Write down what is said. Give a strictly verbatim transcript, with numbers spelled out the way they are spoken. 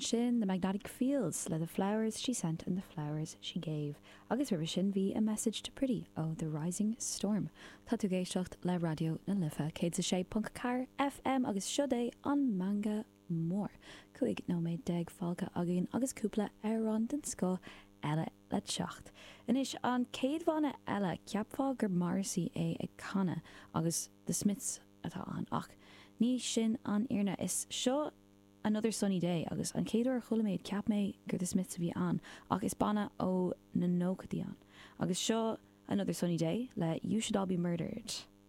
Ansin The Magnetic Fields le The Flowers She Sent and the Flowers She Gave. Agus roimhe sin bhí A Message to Pretty ó The Rising Storm. Tá tú ag éisteacht le Raidió na Life céad a sé ponc ceathair FM agus seo é an Meangadh Mór. Cúig nóiméad déag fágtha againn agus cúpla amhrán den scoth eile le teacht. Anois an chéad bhanna eile cheapfá gur Morrissey é ag canadh agus The Smiths atá ann ach ní sin an fhírinne is seo Another Sunny Day agus an chéad uair a chuala mé cheap mé gur The Smiths a bhí ann ach is banna ó na nóchaidí ann. Agus seo Another Sunny Day le You Should All Be Murdered.